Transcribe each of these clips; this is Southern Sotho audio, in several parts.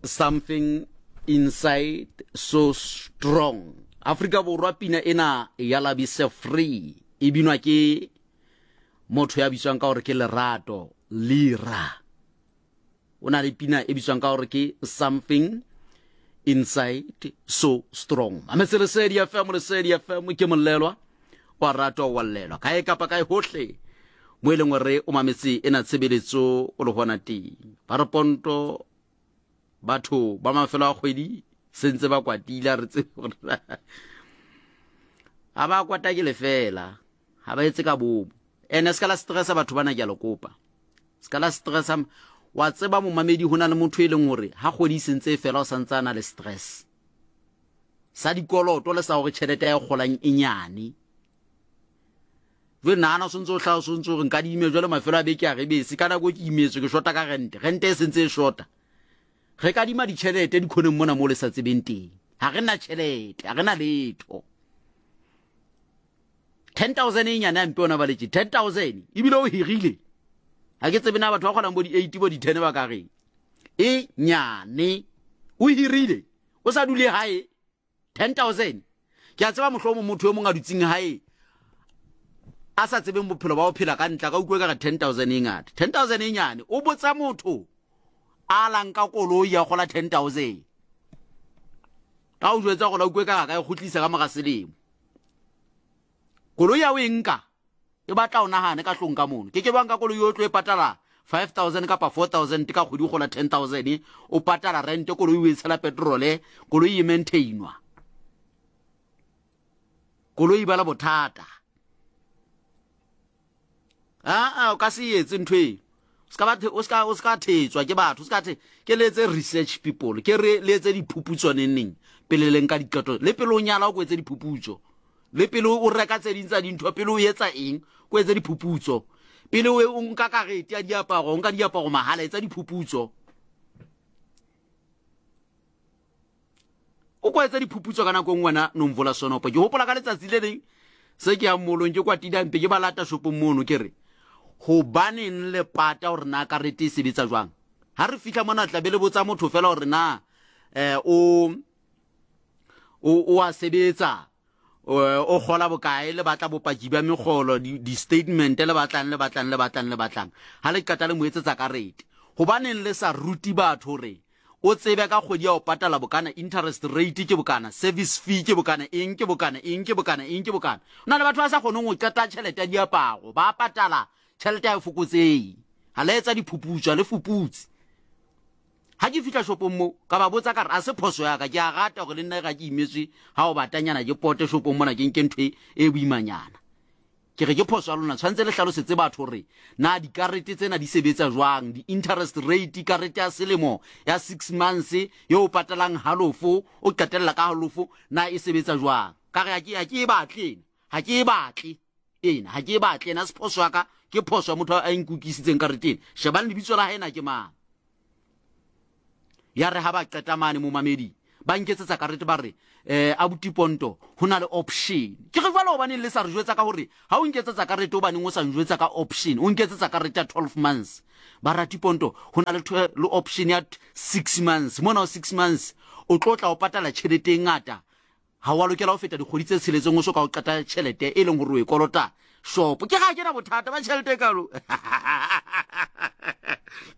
Something Inside So Strong. Afrika Borwa pina ena ya Labise Free e binwa ke motho ya bitswang ka gore ke Lerato Lira. O na le pina e bitswang ka gore ke Something Inside So Strong. Mametse Lesedi FM, Lesedi FM ke molelwa wa ratwa wa llelwa kae kapa kae hohle mo e leng gore o mametse ena tshebeletso o le gona teng. Ba re ponto batho ba mafelo a kgwedi sentse ba kwatile re tsebe gore ga ba kwata ke lefela ga ba etse ka bomo. Ene se ka la stressa batho bana ke a le kopa, se ka la stressa. Wa tseba momamedi, go na le motho e leng gore ga kgwedi e sentse e fela o santse a na le stress sa dikoloto le sa gore tšhelete ya e golang e nyane. Jale nagana o sentse o tlhaa o sentse gore nka di ime jale mafelo a beke a re bese ka nako ke imetswe ke shota ka rente, rente e sentse e shota. Re kadima ditšhelete dikhoneng mona mo le sa tsebeng teng, ga re na tšhelete, ga re na letho. 10,000 e nyane a mpe ona baletše 10,000 ebile o hirile. Ga ke tsebe na batho ba kgonang bo di-8 bo di-10 ba ka reng e nyane o hirile o sa dule gae 10,000. Ke a tseba mohlomong motho yo mongwe a dutseng gae a sa tsebeng bophelo ba go phela ka ntla ka utlwe ka re 10,000 e ngata, 10,000 e nyane. O botsa motho a lang ka koloi ya gola 10,000 ka o jwetsa gore a utlwe ka ga ka e kgotlisa ka mora selemo. Koloi ya o e nka e batla o nagane ka tlong ka mono. Ke ke bang ka koloi o tlo e patala 5000 kapa 4000 ka kgwedi, o gola 10000, o patala rente, koloi o e tshela petrole, koloi e maintainwa, koloi ba la bothata. Aa, o ka se etse ntho e o ska thetswa ke batho. O ska the ke le etse research people, ke re le etse diphuputso neneng pele le nka diqeto, le pele o nyala o ko etse diphuputso, le pele o reka tse ding tsa dintho, pele o etsa eng ko etse diphuputso, pele o nka karete ya diaparo, o nka diaparo mahala, etsa diphuputso, o ko etsa diphuputso ka nako nngwe. Wena Nomvola Sonopo, ke gopola ka letsatsi le leng se ke yang molong ke kwatidampe ke ba lata shopong mono, ke re gobaneng le pata gore na karete e sebetsa jwang? Ga re fitlha mona tlabe le botsa motho fela gore na um o a sebetsa, o gola bokae, le batla bopaki bja megolo, di-statement, le batlang le batlang le batlang le batlang. Ga le qeta le mo etsetsa karete. Gobaneng le sa ruti batho gore o tsebe ka kgwedi ya o patala bokana, interest rate ke bokana, service fee ke bokana, eng ke bokana, eng ke bokana, eng ke bokana? O na le batho ba sa kgoneng go qeta tšhelete ya diaparo, ba patala tšhelete ya e fokotsei. Ga le etsa diphuputso, ga le fuputse. Ga ke fitlha shopong mo ka ba botsa ka re a se phoso yaka, ke a rata gore le nna ga ke imetswe ga o batanyana ke pote shopong mona ke nke ntho e boimanyana. Ke re ke phoso ya lona, tshwanetse le hlalosetse batho gore na dikarete tsena di sebetsa jwang, di-interest rate, karete ya selemo ya 6 months ye o patalang halofo o qetella ka halofo, na e sebetsa jwang? Ka re ha ke e batle ena, ha ke e batle ena, ha ke e batle ena, se phoso ya ka, ke phoso ya motho a nkukisitseng karete ena. Shebang lebitso la hae na ke mang. Ya re ha ba qeta mane momamedi ba nketsetsa karete, ba re abuti Ponto, ho na le option. Ke re jwale hobaneng le sa re jwetsa ka hore ha o nketsetsa karete, hobaneng o sa njwetsa ka option? O nketsetsa karete ya 12 months. Ba rati Ponto, ho na le le option ya 6 months. Mona o 6 months o tlo tla o patala tjhelete e ngata, ga wa lokela go feta dikgwedi tse tsheletseng o so ka o qeta tšhelete e leng gore o e kolota shopo. Ke ga ke na bothata ba tšhelete e kalo,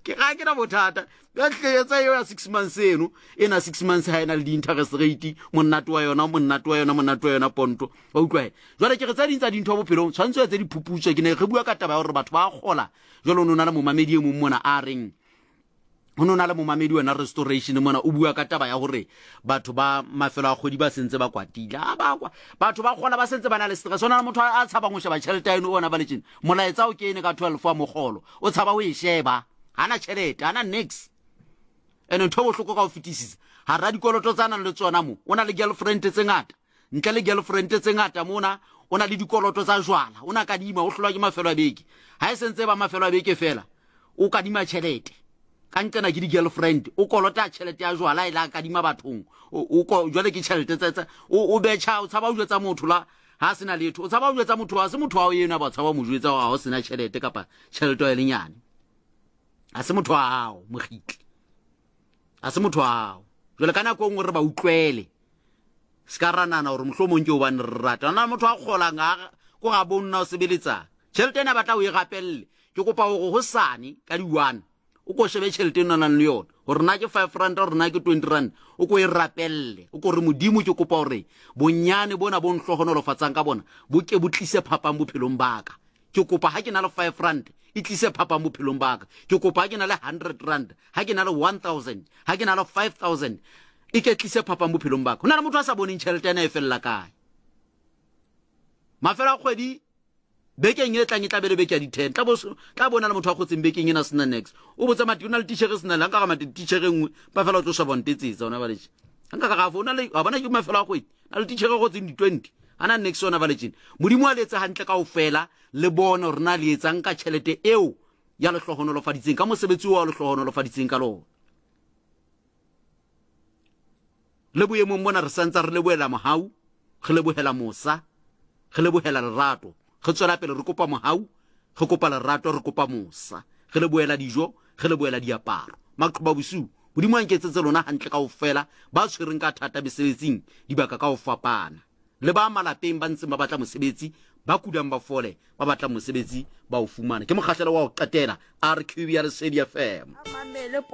ke ga ke na bothata. Etsa eo ya 6 months eno e na 6 months ga e na le di-interest rate, monate wa yona, monate wa yona, monate wa yona Ponto wa utlwae. Jwale ke re tse ding tsa dintho bophelong tshwanetse o etse diphuputso. Ke ne re bua ka taba ya gore batho ba gola jalo. O ne o na le momamedi e mong mona a reng go ne o na le momamedi wena Restoration mona, o bua ka taba ya gore batho ba mafelo a kgwedi ba sentse ba kwatile. A ba kwa batho ba kgola ba sentse ba na le stress. O na le motho a tshabang go sheba tšhelete ya eno ona ba letseng molaetsa o kene ka 12 wa mogolo, o tshaba go e sheba, ga na tšhelete, ga na nix. Ene ntho e bohloko ka go fetisisa gara dikoloto tsa nang le tsona mo, o na le girlfriend tse ngata, ntle le girlfriend tse ngata mona o na le dikoloto tsa jwala, o na kadima, o hlolwa ke mafelo a beke. Ga e sentse ba mafelo a beke fela o kadima tšhelete ka nqena ke di-girlfriend, o kolota tšhelete ya jwala e la kadima bathong. Jwale ke tšhelete tse o betšha, o tshaba o jwetsa motho la ha sena letho, o tshaba o jwetsa motho, ha se motho wa eno ba tshaba mo jwetsa gore ha o sena tšhelete kapa tšhelete ya lenyane, ha se motho wa hao mogitli. A se motho wa gago. Jwale ka nako e nngwe re ba utlwele. Se ka ra nana gore mohlomong ke gobane re rata. Na motho a kgolang a ko ga bo nna o sebeletsang. Tšhelete ena batla o e gapelele. Ke kopa gore hosane ka di-1 o ko shebe tšhelete e nang le yona gore na ke 5 rand gore na ke 20 rand o ko e rapelele o ko re modimo ke kopa gore bonyane bona bo nhlohonolofatsang ka bona bo ke bo tlise phapang bophelong baka ke kopa ha ke na le 5 rand e tlise phapang bophelong baka ke kopa ha ke na le 100 rand ha ke na le 1000 ha ke na le 5000 e ke tlise phapang bophelong baka ho na le motho a sa boneng tšhelete ena e felela kae mafelo a kgwedi Bekeng e tlang e tla be le beke ya di-ten. Tla bo tla bona le motho a kgotseng bekeng ena sena nex. O botsa mati o na le tichere sena le nka ga mati tichere nngwe ba fela o tlo sheba ntetsetsa ona ba letse. Nka ga ga o na le wa bona ke mafelo a kgwedi. Na le tichere go tseng di-20. Ana nex ona ba letseng. Modimo a le etse hantle kaofela le bone hore na le etsang ka tjhelete eo ya le hlohonolofaditseng ka mosebetsi o a le hlohonolofaditseng ka lona. Le boemong bona re santsa re lebohela mohau, re lebohela mosa, re lebohela lerato. Re tswela pele re kopa mohau, re kopa lerato, re kopa mosa. Re lebohela dijo, re lebohela diaparo. Maqhoba bosiu, Modimo a nketsetse lona hantle kaofela, ba tshwereng ka thata mesebetsing dibaka ka ho fapana. Le ba malapeng ba ntseng ba batla mosebetsi, ba kulang ba fole, ba batlang mosebetsi ba o fumane. Ke mokgahlelo wa ho qetela, RQB ya Lesedi FM. A mamele.